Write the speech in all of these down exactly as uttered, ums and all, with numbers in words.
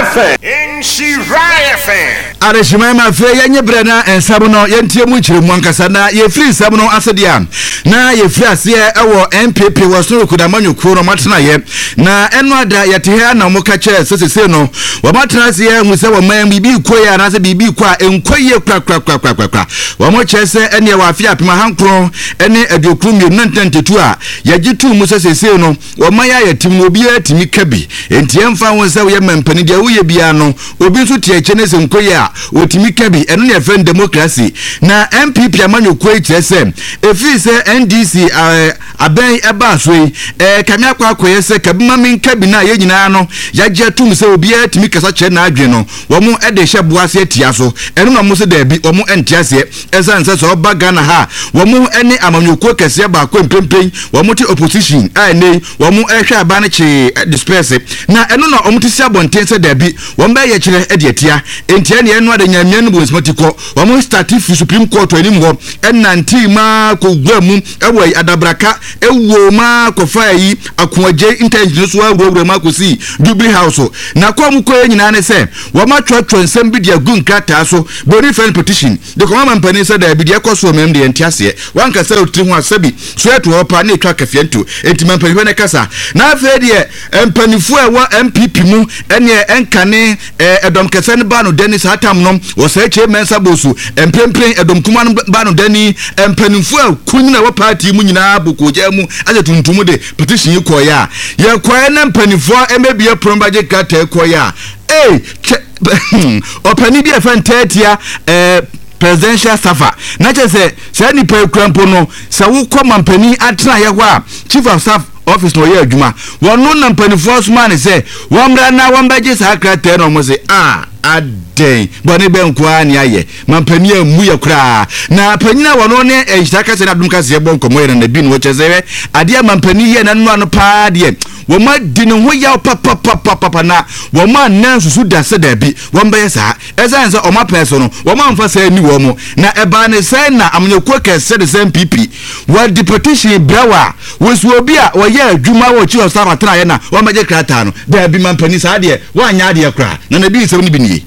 F M. Nhyira F M. Adehyeman ma afei yɛnyɛ berɛ na nsɛm no yɛntie mu nkyerɛmu ankasa. Na yɛfiri nsɛm no ase deɛ a, na yɛfiri aseɛ ɛwɔ N P P wɔ soro kodamanyɔkuo no ɔmatenaeɛ na ɛno ada yɛte ha na wɔka kyerɛ sɛ sesei no wɔmatena aseɛ hu sɛ wɔman biribi kɔ yie anaasɛ biribi kɔ a ɛnkɔ yie korakorakorakorakora. Wɔn kyerɛ sɛ ɛneɛ wɔ afe apem ahankron ne aduokron mmienu na ntantetu a yɛgye too mu sɛ sesei no wɔman yɛ a yɛtem no, obiara tumi ka bi, enti ɛmfa ho sɛ woyɛ mampanin, deɛ woyɛ biara no obi nso te akyire ne sɛ nkɔ yie a wɔtumi ka bi. Ɛno ne yɛfrɛ no democracy. Na N P P amanyɔkuo yi kyerɛ sɛ ɛfiri sɛ N D C ɛɛ abɛn ɛbaa so yi, ɛɛ kame akɔ akɔyɛ sɛ kabima mi nka bi no a yɛn nyinaa no yɛagye atum sɛ obiara tumi kasa kyerɛ n'adwene no, wɔn ɛde hyɛ boa ase atia so. Ɛno na wɔn sɛ daabi, wɔn nte aseɛ, ɛsiane sɛ sɛ ɔba Ghana ha, wɔn ne amanyɔkuo kɛseɛ baako mpempem wɔn te opposition a ɛnɛ yi wɔn ɛhwɛ aba no kyee disperse, na ɛno na wɔn te si abɔnten sɛ daabi, wɔn bɛyɛ kyerɛ ɛde atia. Nti ɛne ɛno ade nyamea no bu nsɛm kɔ wɔn start fi Supreme Court anim hɔ, ɛnante maa kɔ wura mu ɛwɔ Adabraka, ɛwɔ maa kɔfa yi Akoagye interchange so, awurawura mu akɔsi Jubilee House. Na kɔn mu kɔɛ nyinaa ne sɛ wɔn atwerɛtwerɛ nsɛm bi de agu nkrataa so, broni fɛn petition, de kɔn ama mpanin sɛ daabi, deɛ ɛkɔ so mɛm deɛ nte aseɛ, wankasa otiri ho asɛbi so ɛto hɔ paa ne etwa kɛfeɛ nto. Enti ma mpanimfoɔ ne kasa. Na afei deɛ mpanimfoɔ a ɛwɔ N P P mu ɛneɛ ɛnkane ɛɛ ɛdɔm kɛseɛ no ba no dani saa tam no wɔsɛ kyɛ mɛnsa bosu mprempren ɛdɔm kuma no ba no dani, mpanimfoɔ a kunyin a ɛwɔ party mu nyinaa bokogya mu ahyɛ tuntum de petition yi kɔɔeɛ a yɛkɔɛ na mpanimfoɔ ɛmɛbie pono bagye krataa kɔɔeɛ a, ee, kyɛ ɔpanin bi a ɛfɛ ntɛɛtia ɛɛ presidential staffer na kyerɛ sɛ saa nipa ekura mpo no sɛ wokɔ mampanin atenaeɛ hɔ a, chief of staff office na ɔyɛ adwuma. Wɔn na mpanimfoɔ soma ne sɛ wɔn mmra na wɔn bɛgye saa krataa, na wɔn sɛ a adɛn, bɔne bɛn nko ara ne ayɛ mampanin amu yɛ koraa? Na panyin a wɔn ne nhyira kasa ne adum kasa bɔ nkɔmɔ yɛ nana bi no, wɔkyerɛ sɛ adeɛ mampanin yɛ n'anum ano paa deɛ, wɔn adi ne ho yaw papapapapa na wɔn anan susu da sɛ daabi, wɔn bɛyɛ saa, ɛsan sɛ wɔn apɛn so no wɔn amfa sɛ ani wɔn mu. Na ɛbaa ne sɛn na amanyɔkuo kɛse de sɛ N P P wɔde petition brɛ wɔ a wɔsi obi a wɔyɛ adwuma wɔ chief of staff atenaeɛ na wɔn bɛgye krataa no? Daabi, mampanin, saa deɛ wɔanyɛ adeɛ koraa. Na na ebi nsɛm no bi nie.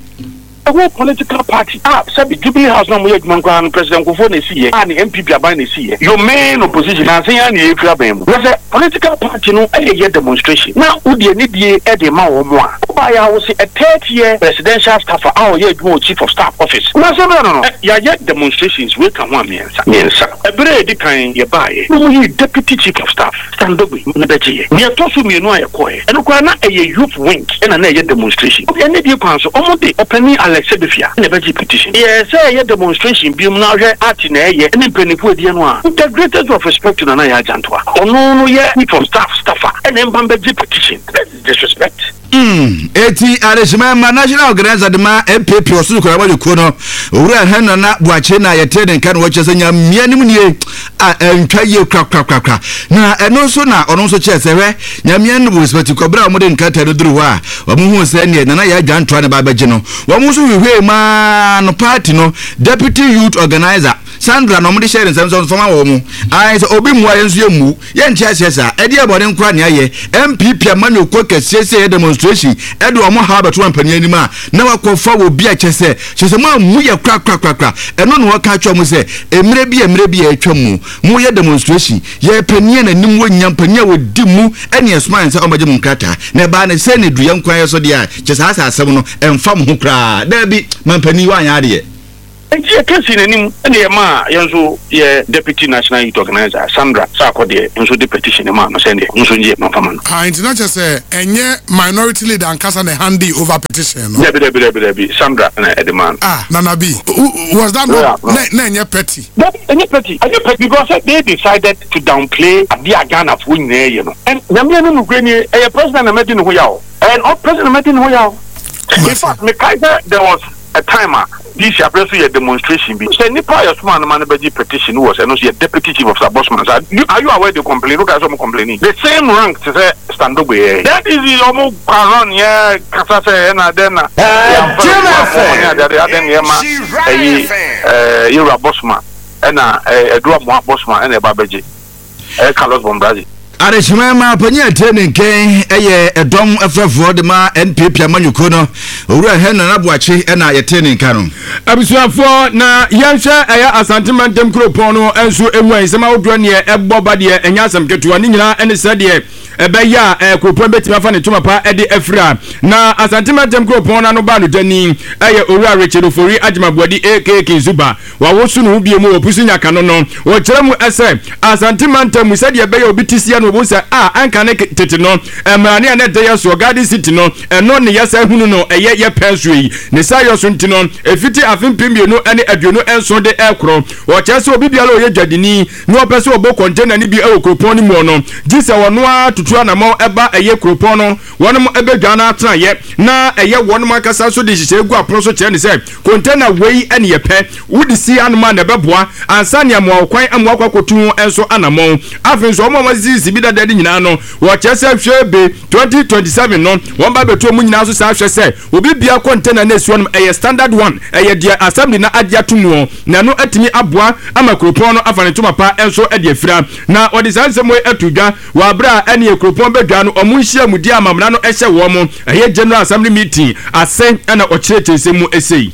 Ɛwɔ political party a sɛbi Jubilee House na mo yɛ adwuma nkoraa no, President Kufuor na esi yɛ a ne N P P aban na esi yɛ your main opposition na asen ya na yɛfiri aban mu na sɛ political party no ɛyɛ yɛ demonstration na wodi anidie ɛde ma wɔn a ɔbaa yɛ awo se a third year presidential staffer a ɔyɛ adwuma wɔ chief of staff office na sɛ bɛrɛ no no yɛayɛ demonstrations wei ka ho a mmiɛnsa mmiɛnsa. Ɛberɛ a yɛdi kan yɛbaayɛ na wɔn yi deputy chief of staff Standogbe ne bɛgye yɛ nea ɛtɔ so mmienu a yɛkɔɛ ɛno koraa na ɛyɛ youth wing ɛna na ɛyɛ demonstration obi ɛne die kwan so ɔmo de ɔpanin Alex Sebefia ɛna ɛbɛgye petition. Yɛ sɛ ɛyɛ demonstration biom na ahwɛ ati na ɛyɛ ɛne mpanimfoɔ adiɛ no a, with the greatest of respect to Nana Yaa Jantuah, ɔno no yɛ chief of staff staffer ɛna ɛmba mbɛgye petition. That is disrespect. Mm, eti adehyema ma national organizer de ma N P P ɔsoro kora wɔde kuo no, Owura Hɛn Nana Buakye, na yɛte ne nka no wɔkyerɛ sɛ nyamea no mu nie a ɛntwa yie korakorakorakora. Na ɛno nso na ɔno nso kyerɛ sɛ hwɛ, nyamea no wɔ respect kɔbrɛ a wɔde nkrataa no duru hɔ a, wɔn hu sɛ neɛ Nana Yaa Jantuah ne ba abɛgye no, wɔn nso hwehwɛ maa no party no deputy youth organizer Sandra na wɔde hyɛ ne nsɛm sɛ fama wɔn mo ayɛ sɛ obi mua yɛn nso yɛ mu yɛnte aseɛ saa. Ɛdeɛ bɔne nkora ne ayɛ N P P amanyɔkuo kɛseɛ sɛ ɛyɛ demonstration ɛde wɔn ha bɛto mpanin anim a na wakɔfa wɔ bi a kyɛ sɛ kyɛ sɛ mo amu yɛ korakorakorakora. Ɛno na wɔka kyerɛ mo sɛ mmerɛ bi a mmerɛ bi a atwa mu moyɛ demonstration, yɛ panin a n'anim wɔ nyam, panin a wɔdi mu ɛne ɛsoma yɛn sɛ ɔmbɛgye mo nkrataa, na ɛbaa ne sɛ ne duyɛ nkwan yɛ so deɛ a kyɛ saa sɛ asɛm no ɛmfa mo ho koraa. Daabi, mampanin, woanyɛ adeɛ. Nti yɛka si n'anim ɛna yɛma yɛn nso yɛ deputy national youth organizer Sandra Saakɔ deɛ nso de petition ma no sɛdeɛ nso ngye mamfama no. Ah, nti na kyerɛ sɛ ɛnyɛ minority leader ankasa na hand over petition no? Dabi, dabi, dabi, dabi, Sandra na ɛde ma no. Ah, Nana B, was that not na na ɛnyɛ petty? Dabi, ɛnyɛ petty, ɛnyɛ petty, because they decided to downplay adeɛ a Ghanafoɔ nyinaa yɛ no, and Nyame no nukuri nie, ɛyɛ president na mɛdi ne ho yaw, ɛyɛ ɔ president na mɛdi ne ho yaw. In fact, mekae sɛ there was a time a D C abere so yɛ demonstration bi sɛ nipa a yɛsoma no ma no bɛgye petition was ɛno nso yɛ deputy chief of staff Bosman sa. Are you aware they complain? Look at some complaining, the same rank te sɛ Standogbe yɛ that easy, ɔmo kwaron yɛ kasa sɛ ɛna dɛn na yɛamfa no ne adeade adɛn nneɛma ɛyi ɛɛ yɛwura Bosman ɛna ɛɛ ɛdura moa Bosman ɛna ɛba bɛgye ɛyɛ Carlos Bombrazi. Adehyema ma panyin atie ne nkɛn ɛyɛ ɛdɔm ɛfrɛfoɔ de ma N P P amanyɔkuo no, Owura Henry Aboakye, ɛna yɛte ne nka no. Abusuafoɔ, na yɛnhwɛ ɛyɛ Asante mantam kuropɔn no nso emu a nsɛm ahodoɔ neɛ ɛbɔ ba deɛ, ɛnyɛ asɛm ketewa. Ne nyinaa ɛne sɛ deɛ ɛbɛyɛ a ɛɛ kuropɔn bɛtumi afa ne ntoma pa ɛde afira. Na Asante mantam kuropɔn no ano ba no gyani ɛyɛ Owura Richard Ofori Agyemaboadi aka Kinzuba. Wawoso ne ho bie mu wɔ pusu nyaka no no wɔkyerɛ mu ɛsɛ Asante mantam mu sɛdeɛ ɛbɛyɛ obi ti sia no, obu sɛ a anka ne tete no mmerane a ne ɛda yɛ soɔ Garden City no, ɛno ne yɛsɛ hunu no ɛyɛ yɛ pɛn so yi ne sa yɛ so. Nti no efiti afe mpem mmienu ne aduonu nson de ɛkorɔ, wɔkyerɛ sɛ obi biara a ɔyɛ dwadini na ɔpɛ sɛ ɔbɔ container no bi ɛwɔ kuropɔn no mu no, gye sɛ wɔno ara tutu anammɔn ɛba ɛyɛ kuropɔn no wɔnom ɛbɛdwa no atenayɛ, na ɛyɛ wɔnom ankasa nso de nhyehyɛ gu apono so kyerɛ ne sɛ container wei ɛne yɛpɛ wode si anom a na ɛbɛboa ansa nea mmoa wo kwan amoa akɔ akɔtu ho nso anammɔn. Afei nso wɔn a wɔasisi bi dada de nyinaa no, wɔkyerɛ sɛ hwɛ be twenty twenty-seven no wɔn ba bɛtu wɔn nyinaa so saa hwɛ sɛ obi bia container na esi hɔ nom ɛyɛ standard one, ɛyɛ deɛ assembly na agye ato mu, na ɛno atumi aboa ama kuropɔn no afa ne ntoma pa nso de afira. Na wɔde saa nsɛm yi ato dwa wɔ abere a ɛne kuropɔn bɛdwa no ɔmo nhyia mu di amamena no ɛhyɛ wɔn mo ɛyɛ general assembly meeting ase, ɛna ɔkyerɛkyerɛ nsɛm mu esei.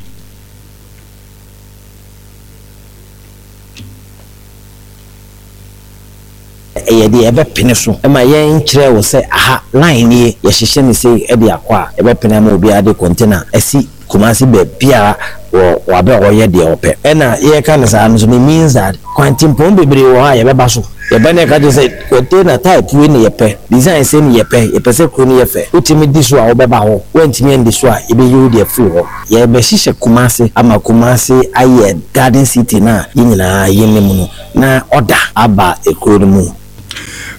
Ɛyɛ deɛ ɛbɛpene so ma yɛn kyerɛ wo sɛ aha line nie, yɛhyehyɛ ne sei de akɔ a, ɛbɛpene ama obiara de container asi Kumase baabiara wɔ wabɛ a ɔyɛ deɛ ɔpɛ. Ɛna yɛka no saa no so, it means that kwantempɔn bebree wɔ hɔ a yɛbɛba so, yɛbɛ ne ka kyerɛ sɛ container type wei ne yɛpɛ, design sɛ ne yɛpɛ, yɛpɛ sɛ kuro no yɛ fɛ. Wotumi di so a, wobɛba hɔ. Woantumi andi so a, yɛbɛyi wo deɛ firi hɔ. Yɛbɛhyehyɛ Kumase ama Kumase ayɛ garden city no a yɛn nyinaa yɛnim no, na ɔda aba ekuro no mu.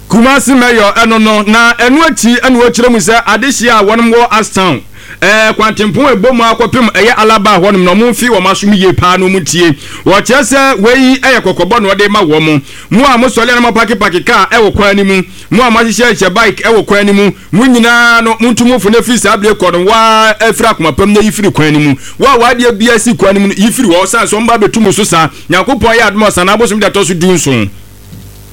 Kumasi mayor ɛno no. Na ɛno akyi ɛna wɔkyerɛ mu sɛ adehyia a wɔnom wɔ Ashtown ɛɛ kwantempɔn ɛbɔ mu akɔpem ɛyɛ Alaba hɔnom na ɔmo mfi wɔn asom yie paa na ɔmo tie. Wɔkyerɛ sɛ wei ɛyɛ kɔkɔbɔ na ɔde ma wɔn mo a mo sɔle anam park park kaa ɛwɔ kwan no mu, mo a mo ahyehyɛ hyɛ bike ɛwɔ kwan no mu, mo nyinaa no mo ntum fo na firi saa abiri kɔ no waa ɛfiri akoma pam na yi firi kwan no mu. Wo a wadeɛ bia si kwan no mu no, yi firi hɔ san so ɔmo ba abɛtu mo so saa. Nyankopɔn yɛ adom ɔsan abosom de ɛtɔ so du nson.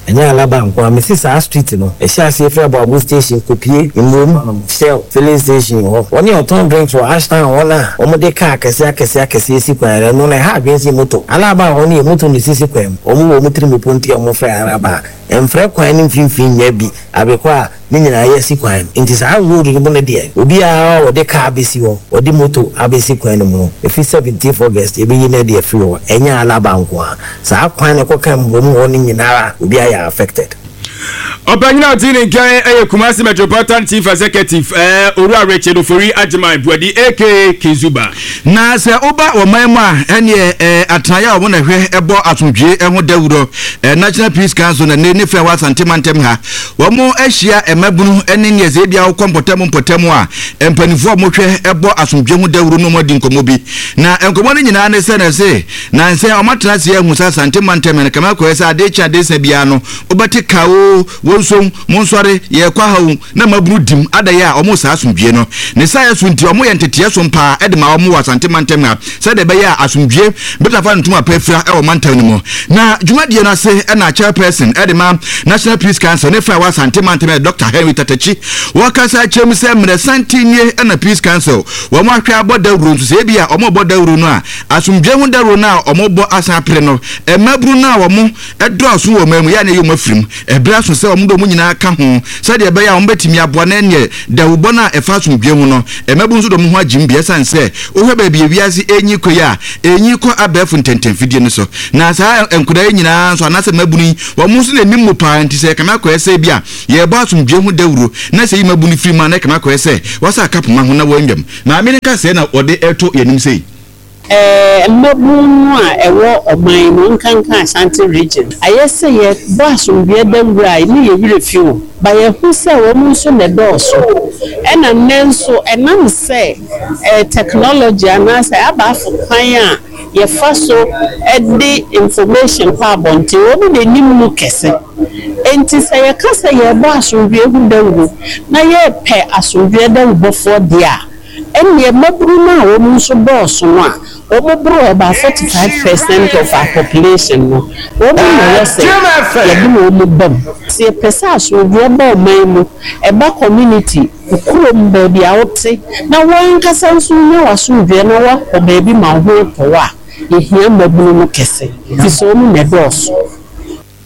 Ɛnyɛ Alaba nko a mesi saa street no, ɛhyɛ aseɛ firi Aboabo station kɔpie Mmom Shell filling station hɔ. Wɔne ɔtɔn drinks wɔ Ashtown hɔ no a wɔde kaa akɛseɛ akɛseɛ akɛseɛ si kwan no, ɛno na ɛha adwene sɛ moto. Alaba hɔ no yɛ moto na ɛsisi kwan mu. Wɔn wɔ wɔn tirim po nti a wɔfrɛ Alaba a ɛmfrɛ kwan no mfimfini nya bi abekɔ a ne nyinaa yɛ si kwan no. Nti saa road no mu no deɛ, obiara a wɔde kaa abɛsi hɔ, wɔde moto abɛsi kwan no mu no, ɛfiri seventeenth August ɛbɛyi no de afiri hɔ. Ɛnyɛ Alaba nko a, saa kwan no kɔka Mbom hɔ no nyinara obiara yɛ affected. Ɔpanyin a ɔte ne nkyɛn ɛyɛ Kumasi Metropolitan Chief Executive, ɛɛ Owura Richard Ofori Agyeman Buadi aka Kinzuba. Na sɛ woba ɔman mu a, ɛneɛ ɛɛ atenaeɛ a wɔn na hwɛ ɛbɔ asomdwie ɛho dawuro, ɛɛ National Peace Council, na ne ne fɛn wɔ Asante mantam ha, wɔn ahyia mmabunu ɛne neɛ sɛ ebi awokɔ mpɔtam mpɔtam a mpanimfoɔ a wɔhwɛ ɛbɔ asomdwie ho dawuro no, wɔn adi nkɔmɔ bi. Na nkɔmɔ no nyinaa ne sɛ na sɛ na nsɛ wɔn atena ase ahu sɛ Asante mantam no kama kɔɛ sɛ adeɛ kye adeɛ sa biara no, wobɛte ka o, wɔn nso mo nsɔre yɛkɔ ha o, na mmabunu dim adayɛ a wɔn saa asomdwie no ne saa yɛ so. Nti wɔn yɛ nteteɛ so paa ɛde ma wɔn wɔ Asante mantam ha sɛdeɛ ɛbɛyɛ a asomdwie bɛtafa ntoma pɛ fira ɛwɔ mantam no mu. Na dwumadie no ase ɛna chairperson ɛde ma National Peace Council ne fa wɔ Asante mantam yɛ Doctor Henry Tatakyi, wɔkasa kyerɛ mu sɛ mmerɛ santen nie ɛna Peace Council wɔn ahwɛ abɔ dawuro nso sɛ ebi a wɔn bɔ dawuro no a, asomdwie ho dawuro no a wɔn bɔ asan apere no, mmabunu no a wɔn ɛdɔɔso wɔ ɔman mu yɛ a na ɛyɛ wɔn afirim ɛberɛ aso sɛ wɔn de wɔn nyinaa ka ho sɛdeɛ ɛbɛyɛ a wɔn bɛtumi aboa na ɛneɛ dawubɔ no a ɛfa asomdwie ho no, mmabunu nso de wɔn ho agyim bi. Ɛsiane sɛ wohwɛ baabi ewiase ɛnyi kɔ yi a ɛnyi kɔ abɛɛfo ntɛntɛmfidie no so, na saa nkwadaa yi nyinaa nso anaasɛ mmabunu yi, wɔn nso na anim mu paa. Nti sɛ ɛkame akɔyɛ sɛ bi a yɛrebɔ asomdwie ho dawuro na sɛ yi mmabunu firi mu a, na ɛkame akɔyɛ sɛ wɔasa aka poma ho na wɔanwam. Maame no ka sɛ na wɔde ɛto yɛnim sei. ɛɛ mmabunu no a ɛwɔ ɔman mu, nkanka Ashanti Region, ayɛ sɛ yɛbɔ asomdwoeɛ dawuro a ne yɛ werɛ fi wɔn ba, yɛho sɛ wɔn nso na ɛdɔɔso. Ɛna nnɛ nso ɛnam sɛ ɛɛ technology anaasɛ abaafo kwan a yɛfa so ɛde information kɔ abɔnten, wɔn na anim mu kɛse. Nti sɛ yɛka sɛ yɛrebɔ asomdwoeɛ ho dawuro na yɛrepɛ asomdwoeɛ dawubɔfoɔ deɛ a, Ɛnneɛ mmabunu no a wɔn nso dɔɔso no a wɔn boro about forty five percent of our population no, wɔn na ɛwɔ sɛ yɛde wɔn ba mu. Sɛ yɛpɛ sɛ asomdwoeɛ ba ɔman mu, ɛba community kurom baabi a wote na wɔn ankasa nso nya w'asomdwoeɛ na wakɔ baabi ma wo ho atɔ wo a, yɛhia mmabunu no kɛse fi sɛ wɔn na ɛdɔɔso.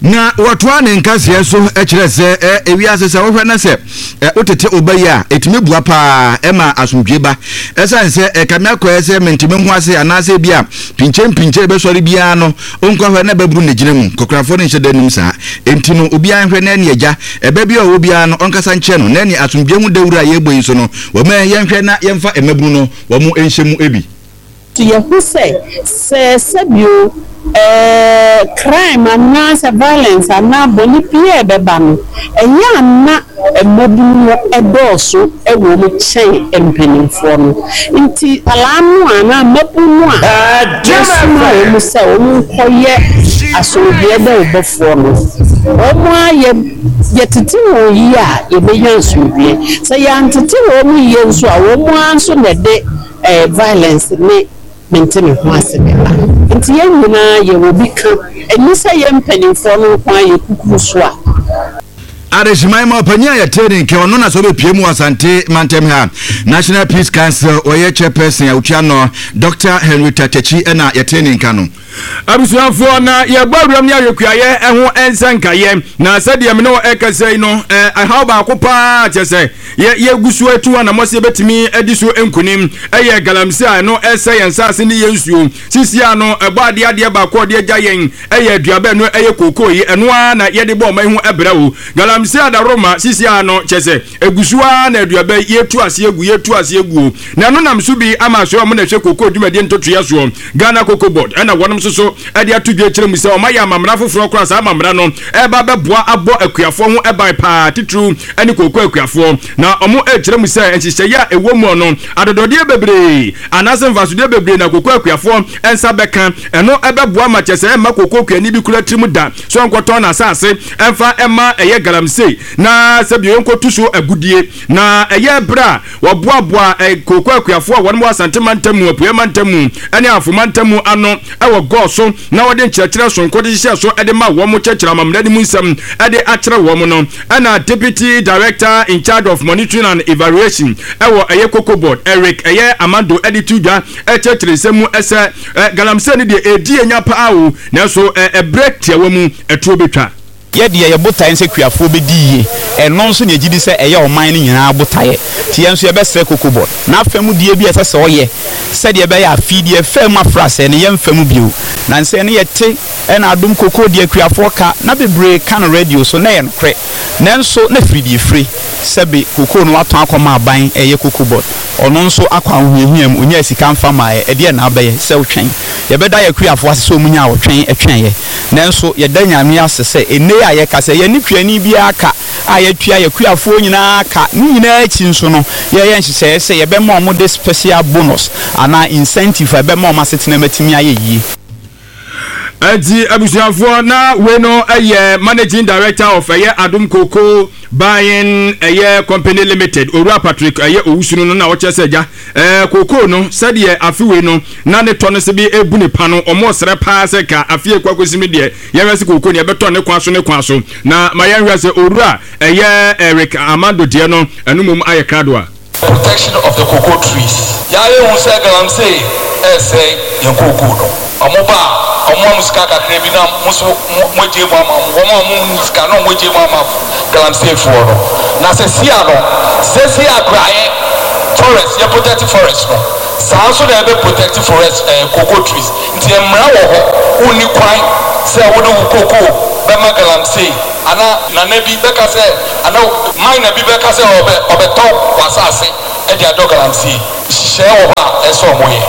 Na wɔtoa ne nkaseɛ so kyerɛ sɛ ɛ ewiase sɛ wohwɛ na sɛ ɛ wotete ɔba yi a, ɛtumi bua paa ɛma asomdwe ba, ɛsiane sɛ ɛkame akɔɛ sɛ mentumi ho ase anaasɛ bi a pinkyɛn pinkyɛn bɛsɔre biara no, ɔnkɔhwɛ na bɛburu ne gyina mu kɔkorafoɔ no nhyɛ da nim saa. Enti no obiara nhwɛ na ɛne agya ɛbɛ bi a ɔwɔ biara no ɔnkasa nkyerɛ no, na ɛne asomdwe ho dawuro a yɛbɔ yi so no, wɔma yɛnhwɛ na yɛmfa mmabunu no wɔn nhyɛ mu ebi. So yɛho sɛ sɛ sɛbio ɛɛ crime anaasɛ violence anaa bɔne biara ɛbɛba no, ɛyɛ ana mmabunu no ɛdɔɔso ɛwɔ mu kyɛn mpanimfoɔ no. Nti nkwadaa no anaa mmabunu no a yɛsoma wɔn sɛ wɔn nkɔyɛ asomdwoeɛ dawubɔfoɔ no, wɔn a yɛ yɛtete wɔn yie a, yɛbɛnya asomdwoeɛ. Sɛ yɛantete wɔn yie nso a, wɔn ara nso na ɛde ɛɛ violence ne mente me ho ase bɛba. Nti yɛn nyinaa yɛwɔ bi ka, ɛni sɛ yɛn mpanimfoɔ no nko ara yɛ kukuru so a. Adehyeman ma ɔpanyin a yɛte ne nkɛ ɔno na sɛ ɔbɛpie mu wɔ Asante mantam ha, National Peace Council ɔyɛ chairperson a otua no, Doctor Henry Tatakyi, ɛna yɛte ne nka no. Abusuafoɔ, na yɛbɔ awuram ne ahwɛkuayɛ ɛho nsɛnkayɛ, na sɛdeɛ me ne wɔ ɛkasa yi no, ɛhaw baako paa kyɛ sɛ yɛgu so atu anammɔ sɛ yɛbɛtumi adi so nkonim ɛyɛ galamsey a ɛno ɛsɛ yɛn nsase ne yɛn nsuo. Sisi a no ɛbɔ adeɛ adeɛ baako a ɔde agya yɛn ɛyɛ aduaba, ɛno ɛyɛ kookoo yi, ɛno ara na yɛde bɔ ɔman ho ɛbrɛ wo. Galamsey adaroma sisi a no kyɛ sɛ egu so ara na aduaba yi yɛtu ase egu yɛtu ase egu, na ɛno nam so bi ama so ɔmo na ɛhwɛ kookoo dwumadie ntotoeɛ soɔ, Ghana Cocoa Board, ɛna wɔnom nso so ɛde ato dwa kyerɛ mu sɛ ɔma yɛ amamra foforɔ koraa. Saa amamra no ɛba bɛboa abɔ akuafoɔ ho ɛban paa, titiriw ɛne kookoo akuafoɔ, na ɔmo ɛkyerɛ mu sɛ nhyehyɛeɛ a ɛwɔ mu no, adɔdɔdeɛ bebree anaasɛ mfasodeɛ bebree na kookoo akuafoɔ ɛnsa bɛka. Ɛno ɛbɛboa ma kyɛ sɛ ɛmma kookoo kuani bi kura tirim da so ɔnkɔtɔn n'asase ɛmfa ɛma ɛyɛ galamsey na sɛbi yɛnkɔtu so agudie. Na ɛyɛ berɛ a wɔboaboa ɛ kookoo akuafoɔ a wɔn wɔ Asante mantam mu, Apueɛ mantam mu ɛne Afo mantam mu ano ɛwɔ gɔɔ so, na wɔde nkyerɛkyerɛ sonko de hyehyɛ so ɛde ma wɔn, kyerɛkyerɛ amammerɛ no mu nsɛm ɛde akyerɛ wɔn no, ɛna Deputy Director in charge of monitoring and evaluation ɛwɔ ɛyɛ Cocoa Board, Eric ɛyɛ Amando, ɛde to dwa ɛkyerɛkyerɛ nsɛm mu ɛsɛ ɛ galamsey no deɛ ɛdi enya paa o, nanso ɛ ɛbrɛ tiawa mu ɛtuo betwa. Yɛdeɛ yɛ botaeɛ sɛ kuafoɔ bɛdi yie, ɛno nso ne yɛgye di sɛ ɛyɛ ɔman no nyinaa botaeɛ. Nti yɛn nso yɛbɛsrɛ Cocoa Board na afa mu die bi a ɛsɛ sɛ ɔyɛ sɛdeɛ ɛbɛyɛ afei deɛ ɛfɛ mu afra sɛ ne yɛmfa mu bio. Na nsɛ ne yɛte ɛna Adom Kokoo deɛ akuafoɔ ka na bebree ka no radio so na ɛyɛ nokorɛ, nanso na firi deɛ firi sɛbe kokoo no watɔn akɔma aban, ɛyɛ Cocoa Board, ɔno nso akɔ ahohiahia mu, onyaa sika mfa maayɛ. Ɛdeɛ na abɛyɛ sɛ wotwɛn, yɛbɛda yɛ akuafoɔ ase sɛ ɔmu nya a wɔtwɛn ɛtwɛnyɛ, nanso yɛda Nyame ase sɛ ɛnɛ a yɛka sɛ yɛne kuani biara ka a yɛtua yɛ kuafoɔ nyinaa ka ne nyinaa akyi nso no, yɛyɛ nhyehyɛeɛ sɛ yɛbɛma ɔmo de special bonus anaa incentive a ɛbɛma ɔmo asetena matumi ayɛ yie. Ɛnti abusuafoɔ, na wei no ɛyɛ Managing Director of ɛyɛ Adom Cocoa Buying ɛyɛ Company Limited, Owura Patrick ɛyɛ Owusu no, na ɔkyerɛ sɛ gya ɛɛ kookoo no, sɛdeɛ afe wei no na ne tɔ no sɛ bi ebu ne pa no, ɔmo ɔsrɛ paa sɛ ka afe ekɔ akɔsi mi deɛ yɛhwɛ sɛ kookoo no yɛbɛtɔ ne kwan so ne kwan so. Na ma yɛnhwɛ sɛ Owura ɛyɛ Eric Amando deɛ no, ɛno mom ayɛ krado a protection of the cocoa trees. Yɛayɛ hu sɛ galamsey ɛsɛ yɛn cocoa no. Ɔmo ba a, ɔmo amu sika kakra bi na mo nso mo agye mu ama mo. Wɔn a mo nni sika na ɔmo agye mu ama galamseyfoɔ no. Na sɛ sia no, sɛ sia akoraeɛ forest, yɛ protect forest no. Saa nso na yɛbɛ protect forest ɛɛ cocoa trees. Nti mmara wɔ hɔ, wonni kwan sɛ wode wo cocoa bɛma galamsey ana nana bi bɛka sɛ ana miner bi bɛka sɛ ɔbɛ ɔbɛtɔ w'asase ɛde adɔ galamsey. Nhyehyɛe wɔ hɔ a ɛsɛ ɔmo yɛ.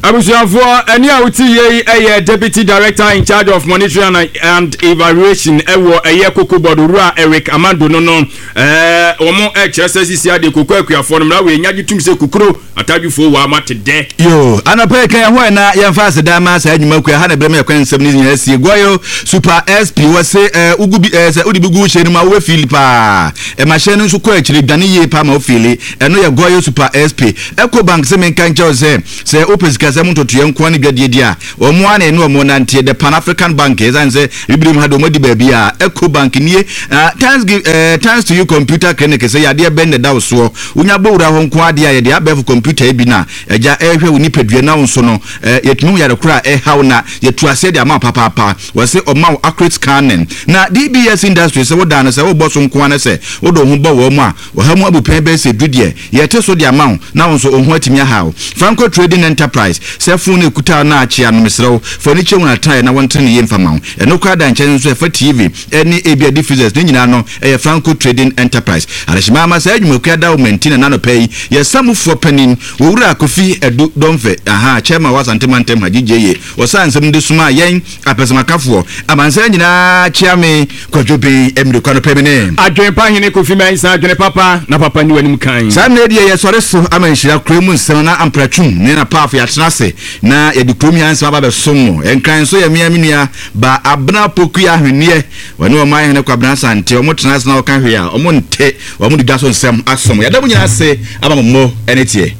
Abusuafoɔ, ɛne a wote yei ɛyɛ Deputy Director in charge of monitoring and evaluation ɛwɔ ɛyɛ Cocoa Board, Owura Eric Amando no no ɛɛ wɔn ɛkyerɛ sɛ sisi ade koko akuafoɔ no mmara wei nyagye tum sɛ kukuro atadwifoɔ wɔ ama te dɛ. Yo, anɔpa yi kan ɛhɔ ɛna yɛmfa aseda ma saa adwuma kua ha na ɛbrɛ mu yɛkwan nsɛm ne nyinaa sie. Goil Super S P wɔ se ɛɛ ugu bi ɛɛ sɛ wode bi gu hyɛn no mu a wobɛfili paa, ɛma hyɛn no nso kɔ akyire dwane yie paa ma wofili. Ɛno yɛ Goil Super S P. Eco Bank sɛ menka nkyɛw sɛ sɛ wopɛ sikasɛm ntotoeɛ nkoa ne dwadie di a, wɔn a na ɛne wɔn nanteɛ, the Pan African Bank. Ɛsiane sɛ bibire mu ha de wɔn adi baabi a Eco Bank nie. uh, thanks give uh, thanks to you Computer Clinic sɛ yadeɛ bɛn na ɛda wo soɔ, wonya bɔwura hɔ nko adeɛ a yɛde abɛɛfo computer yi bi na agya ɛrehwɛ wo nipadua na wo nso no yɛtumi wo yare koro a ɛhaw na yɛtu aseɛ de ama wo papaapa. Wɔse ɔma wo accurate scanning. Na D B S Industry sɛ wodaa no sɛ wobɔ so nko ara sɛ wode wo ho bɔ wɔ mu a, ɔha mu abupɛn bɛyɛ sɛ du deɛ yɛte so de ama wo na wo nso wo ho atumi aha wo. Franco Trading Enterprise sɛ phone no ɛkuta no akyea no, mesrɛ wo fa ani kyɛ hu atraeɛ na wɔntere ne yie mfa ma wo. Ɛno koraa da nkyɛn nso ɛfa T V ɛne ebia deep freezers ne nyinaa no ɛyɛ Franco Trading Enterprise. Adehyema ama saa adwumakua da wo manti na nanɔpɛ yi yɛsa panin Wɔwura Kofi Adu Dɔmfɛ aha chairman wɔ Asante mantam ha gyegye yie wɔsa nsɛm de soma yɛn apɛsɛmakafoɔ amansan nyinaa. Kyea me Kwadwo Ben mmirikwa no pɛ me ne Adwene hene Kofi Mɛnsa, adwene papa na papa ni w'anim kan. Saa mmerɛ deɛ yɛsɔre so ama nhyira kuro mu nsɛm na ampratwum ne na paafo yɛatena ase na yɛde kurom yɛ nsɛm aba bɛsom mo. Ɛnkran nso yɛ mmea me nua ba Abena Pokua Ahwenneɛ, wɔne ɔman hene Kwabena Asante ɔmo tena ase na wɔka hwee a ɔmo nte, ɔmo de dwa so nsɛm asom. Yɛda mo nyinaa ase ama mo mmɔ ɛne teɛ.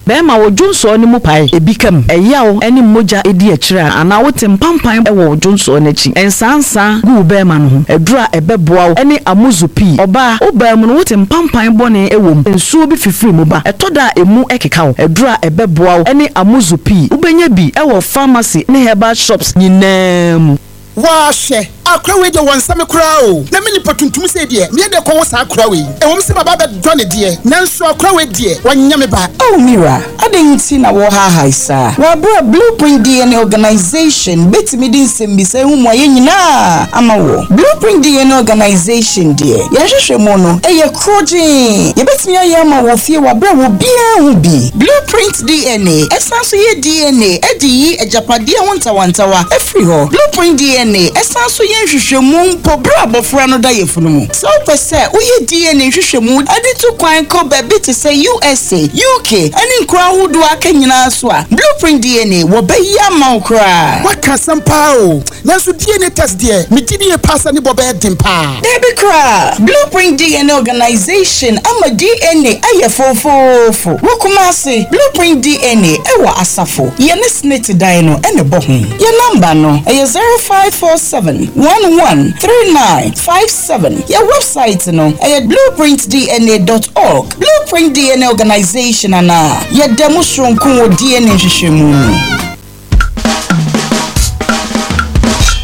Bɛrima, wo dwonsɔɔ no mu pae, ebi kam, ɛyaw ne mogya edi akyire a, anaa wote mpampan wɔ wo dwonsɔɔ n'akyi, nsansa gu wo bɛrima no ho, aduru a ɛbɛboa wo ne Amuzu Pii. Ɔbaa, wo baa mu no wote mpampan bɔne wɔ mu, nsuo bi fifiri mu ba, ɛtɔ da a emu ɛkeka wo, aduru a ɛbɛboa wo ne Amuzu Pii. Wobɛnya bi wɔ pharmacy ne herbal shops nyinaa mu. Wɔahwɛ akora wei deɛ, wɔn nsɛm koraa o, na me nipa tuntum sɛ deɛ meɛ deɛ kɔwɔ saa akora wei. Ɛwɔm sɛ baba bɛdɔ ne deɛ, nanso akora wei deɛ wɔnyɛ me ba. Oh mira, adɛn nti na wɔhaahae saa? Wɔabrɛ Blueprint D N A Organization bɛtumi de nsɛmbisa ho mmuayɛ nyinaa ama wɔ Blueprint D N A Organization deɛ, yɛhwehwɛ mu no ɛyɛ korɔgyee. Yɛbɛtumi ayɛ ama wɔ fie wɔabrɛ wɔ biara ho bi. Blueprint D N A ɛsan so yɛ D N A ɛde yi agyapadeɛ ho ntawantawa ɛfiri hɔ. Blueprint D N A ɛsan so yɛ nhwehwɛmu mpo berɛ a abɔfra no da yɛfunu mu. Sɛ wopɛ sɛ woyɛ D N A nhwehwɛmu ɛde to kwan kɔ baabi te sɛ U S A, U K ɛne nkuro ahodoɔ aka nyinaa so a, Blueprint D N A wɔbɛyi ama wo koraa. Waka asɛm paa o, nanso D N A test deɛ, megye die paa sɛ ne bɔ bɛyɛ den paa. Dabi koraa, Blueprint D N A Organization ama D N A ayɛ fofoofo. Wɔ Kumase, Blueprint D N A ɛwɔ Asafo yɛne SSNIT dan no ɛne bɔ ho. Yɛ number no ɛyɛ zero five four seven one one three nine five seven. Yɛ website no ɛyɛ blueprint D N A dot org. Blueprint D N A Organization anaa yɛda mu soronko wɔ D N A nhwehwɛmu mu.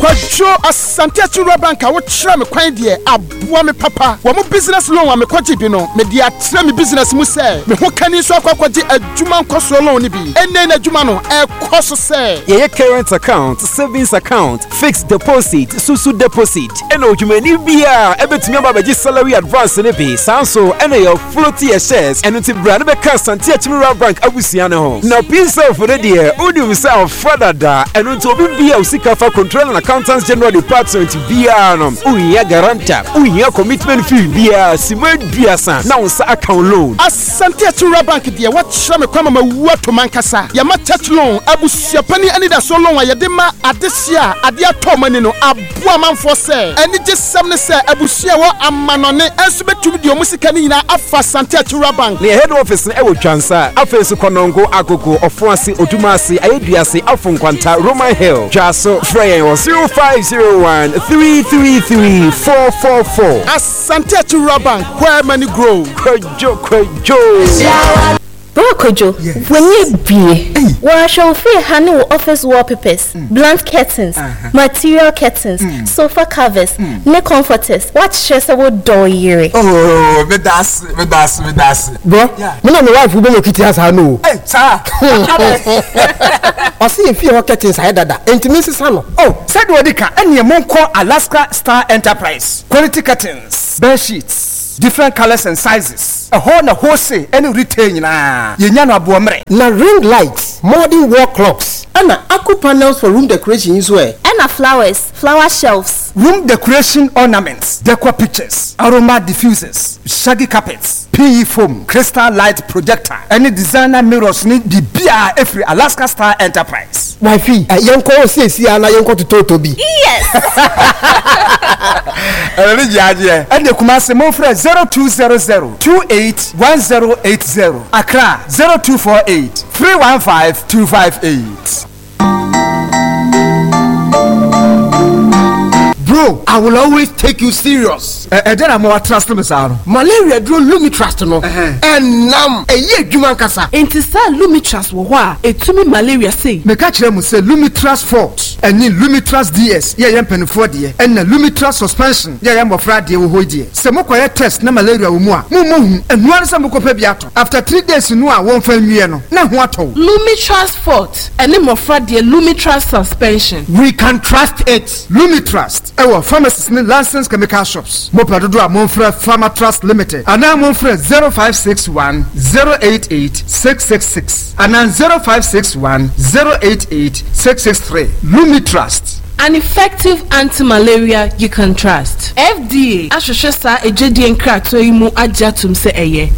Kwadwo, Asante Akyiriwura Bank a wokyerɛ me kwan deɛ aboa me papa. Wɔ mo business loan a mekɔgye bi no, mede atrɛ me business mu sɛ me ho kani nso akɔ akɔgye adwuma nkɔsoɔ loan no bi. Ɛnnɛ na adwuma no ɛkɔ so sɛ yɛyɛ current account, savings account, fixed deposit, susu deposit, ɛna odwumani biara ɛbɛtumi aba abɛgye salary advance ne bi. Saa nso ɛna yɛ float yɛ shares. Ɛno nti bra ne bɛka Asante Akyimiwura Bank abusua ne ho. Na PSF no deɛ, wonim sɛ ɔfa dada. Ɛno nti obi bia wo sika fa Controller and Accountants General Department biara no, wohia guarantor, wohia commitment fee biara, sima aduasa na wo nsa account loan. Asante Akyiriwura Bank deɛ, wɔkyerɛ me kwan ma mawu ato mankasa. Yɛma church loan, abusuapani anidasoɔ loan a yɛde ma adehye a adeɛ atɔ ɔma ni no aboa amanfoɔ sɛ anigye sɛm ne sɛ abusua a wɔ amanɔne ɛnso bɛtumi deɛ ɔmo sika no nyinaa afa Asante Akyiriwura Bank. Ne head office no ɛwɔ Twansa, afei nso Kɔnɔngo, Agogo, Ɔfoase, Odumase, Ayeduase, Afo Nkwanta, Roman Hill, Dwaso. Frɛ yɛn wɔ zero five zero one three three three four four four. Asante Akyiriwura Bank, where money grow. Kwadwo, Kwadwo. Bro Kojo, w'ani abie. Wɔahwɛ wo fie ha ne wo office wallpapers, blunt curtains, material curtains, sofa covers, ne comforters. Woakyerɛ sɛ wodɔ wo yere. Oh, meda ase, meda ase, meda ase. Bro, me na me wife wobɛnya kiti asa no o. Hey, saa. Ɔse yɛ fie hɔ curtains ayɛ dada, enti me nsesa no. Oh, sɛdeɛ ɔdi ka ɛneɛ monkɔ Alaska Star Enterprise. Quality curtains, bed sheets, Different colors and sizes. Ɛhɔ na wholesale ɛne retail nyinaa. Yɛnya no aboɔmmerɛ. Na ring lights, modern wall clocks, ɛna aku panels for room decoration yi nso ɛ? Ɛna flowers, flower shelves. Room decoration ornaments, decor pictures, aroma diffusers, shaggy carpets, P E foam, crystal light projector, ɛne designer mirrors ne biribiara ɛfiri Alaska Star Enterprise. Wifey, ɛ, yɛnkɔ hɔ seesei ara na yɛnkɔ totɔɔtɔ bi. Yes! Ɛno ne gyeagyeɛ. Ɛne Kumasi momfrɛ zero two zero zero two eight one zero eight zero, Accra zero two four eight three one five two five eight. Bro, I will always take you serious. Ɛ ɛdɛn na mo trust me saa no? Malaria duro Lumitrust no, ɛnam ɛyɛ adwuma nkasa. Nti saa Lumitrust wɔ hɔ a, etumi malaria sei. Meka kyerɛ mo sɛ Lumitrust Forte ɛne Lumitrust D S yɛ yɛ mpanimfoɔ deɛ, ɛna Lumitrust Suspension yɛ yɛ mmɔfra deɛ wɔ hɔ yi deɛ. Sɛ mokɔyɛ test na malaria wɔ mu a, mommɔ hu. Ɛnoa ne sɛ mokɔpɛ bi atɔ. After three days no a wɔmfa nwie no, na ho atɔ wo. Lumitrust Forte ɛne mmɔfra deɛ Lumitrust Suspension. We can trust it. Lumitrust ɛwɔ pharmacies ne licensed chemical shops. Mopɛ dodo a momfrɛ Pharmatrust Limited anaa momfrɛ zero five six one zero eight eight six six six anaa zero five six one zero eight eight six six three. Lumitrust. An effective anti-malaria you can trust. F D A ahwehwɛ saa edwadie nkratoɔ yi mu agye atom sɛ ɛyɛ.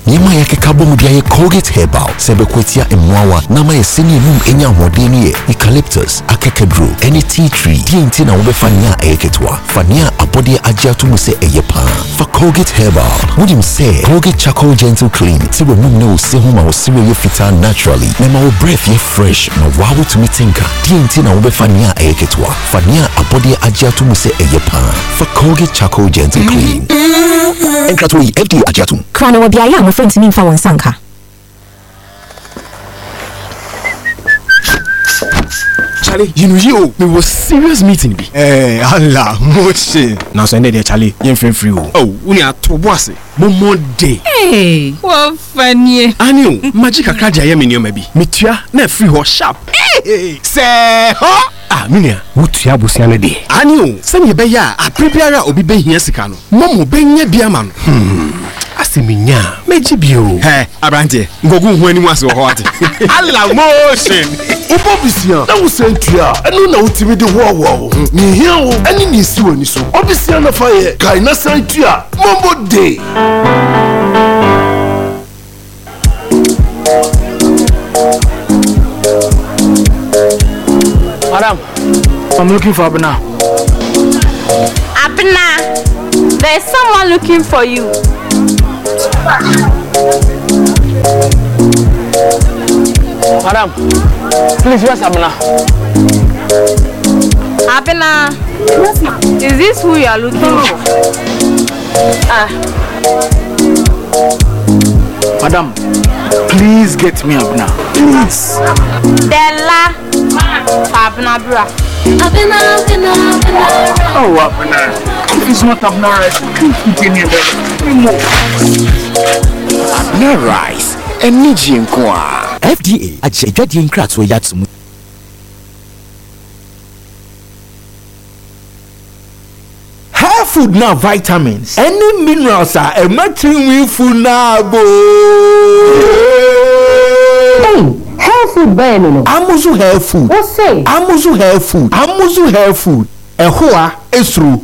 Nneɛma a yɛkeka bɔ mu de ayɛ Colgate Herbal sɛ ɛbɛko atia mmoawa na ama yɛsɛ ne enum anya ahoɔden no yɛ eucalyptus, akekaduro, ɛne tea tree. Deɛ nti na wobɛfa nea ɛyɛ ketewa, fa nea abɔdeɛ agye ato mu sɛ ɛyɛ paa. Fa Colgate Herbal. Wonim sɛ Colgate Charcoal Gentle Clean te w'anum ne wo se ho ma wo se yɛ fitaa naturally na ɛma wo breath yɛ fresh na waa wotumi te nka. Deɛ nti na wobɛfa nea ɛyɛ ketewa, fa nea abɔdeɛ agye ato mu sɛ ɛyɛ paa. Fa Colgate Charcoal Gentle Clean. Nkratoɔ yi F D A agye ato mu. Kra na wɔ beaeɛ a mmɔfra ntumi mfa wɔn nsa nka. Charlie, you know you me was serious meeting bi. Eh, Allah, motion. Now so there Charlie, you free free o. Oh, uni ato boase. Mo mo day. Hey, what funny. Ani o, magic akra dia ye me nneoma bi. Metua na free ho sharp. Hey, say ho. Ah, minia, wotua bosia ne de. Ani o, se ne be ya aprebiara obi be hia sika no. Momo be nya bia ma no. Hmm. Aseminya, meji bi o. He, abrante, ngogu hu ani ase wo ho ate. Allah motion. Ubo bisia, na wo sentua, eno na wotimi de ho awo ho. Ni hia wo, eni ni si wani so. Obisia na fa ye, kai na sentua, Mombo day. Madam, I'm looking for Abena. Abena, there's someone looking for you. Madam, please, where's Abena? Abena, is this who you are looking for? Ah. Madam, please get me Abena. Please. Della. Abena bra. Abena, Abena, Abena. Oh, Abena. If it's not Abena rice, can't eat any other. Abena rice. Energy nkoa. F D A agye adwadie nkratoɔ yi ato mu. Hair food now vitamins. Any minerals are a matching food now bo. Hey, hair food burn no. Amuzu hair food. What say? Amuzu hair food. Amuzu hair food. Ehoa esru.